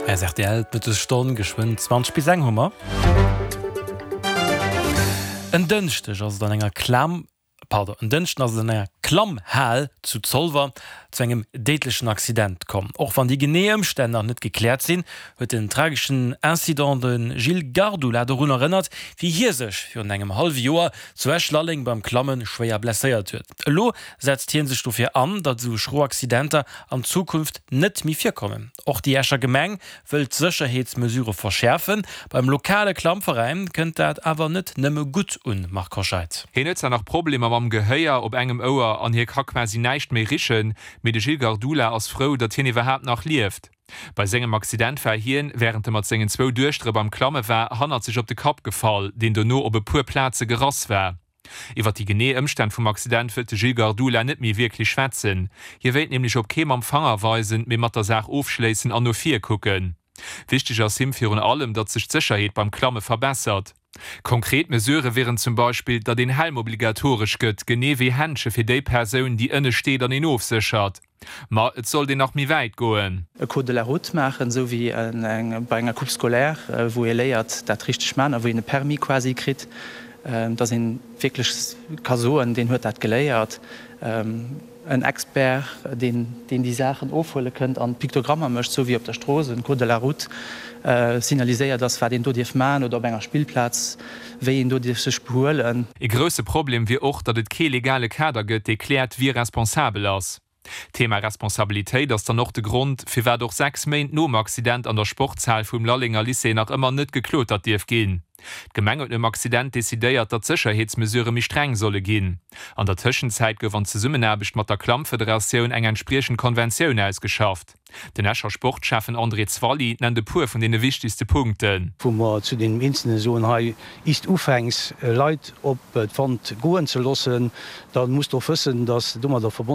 Rtl, d'Mëttesstonn, geschwënn 20 bis eng hu mer. En Dënschdeg ass et an enger Klam, pardon, en Dënschden ass et an enger Klammhal zu Zolwer zu engem déidlechen Accident komm. Och wann déi genee Ëmstänn nach net gekläert sinn, huet den trageschen Incident de Gilles Gardula dorun erënnert, wéi hie sech virun engem hallwe Joer zu Esch-Lalleng beim Klamme schwéier blesséiert huet. Elo setzt hie sech dofir an, datt esou schro Accidenter an Zukunft net méi virkommen. Och déi Escher Gemeng wëll d'Sécherheetsmesurë verschäerfen. Beim lokale Klammveräin kënnt dat awer net nëmme gutt un, Marc Hoscheid. Hien huet zwar nach Problemer mam Gehéier op engem Ouer an hie ka quasi näischt méi richen, mee de Gilles Gardula ass frou, datt hien iwwerhaapt nach lieft. Bei sengem Accident war hien, wärend e mat sengen zwou Duechtere beim Klamme war, hannert sech op de Kapp gefall, deen dono op e puer Plaze gerass war. Iwwer déi genee Ëmstänn vum Accident wëllt de Gilles Gardula net méi wierklech schwätzen. Hie wéilt nämlech op kee mam Fanger weisen, mee mat der Saach ofschléissen an no vir kucken. Wichteg ass him virun allem, datt sech d'Sécherheet beim Klamme verbessert. Konkret Mesurë wieren zum Beispill, datt een Helm obligatoresch gëtt, genee wéi Händsche fir déi Persoun, déi ënne steet an een ofséchert. Ma et sollt een nach méi wäit goen. E Code de la route maachen, esou wéi bei enger Coupe scolaire, wou ee léiert dat richteg maachen a wou een e Permis quasi kritt, dass ee wierklech ka soen, deen huet dat geléiert. En Expert, deen déi Saachen ofhuele kënnt an Piktogrammer mécht, esou wéi op der Strooss en Code de la route signaliséiert ass, wat een do dierf maachen oder op enger Spillplaz, wéi een do dierf sech behuelen. E grousse Problem wier och, datt et kee legale Kader gëtt, dee kläert, wie responsabel ass. D'Thema Responsabilitéit ass dann och de Grond, firwat och 6 Méint nom Accident an der Sportshal vum Lallenger Lycée nach ëmmer net geklotert dierf ginn. D'Gemeng huet nom Accident decidéiert, datt d'Sécherheetsmesurë méi streng solle ginn. An der Tëschenzäit gouf an Zesummenaarbecht mat der Klammfederatioun eng entspriechend Konventioun ausgeschafft. Den Escher Sportschäffen André Zwally nennt e puer vun deene wichtegste Punkten. Wou mer zu deenen Eenzelne soen, hei, is de ufänks Leit op d'Wand goen ze loossen, da muss de och wëssen, dass domadder verbonnen.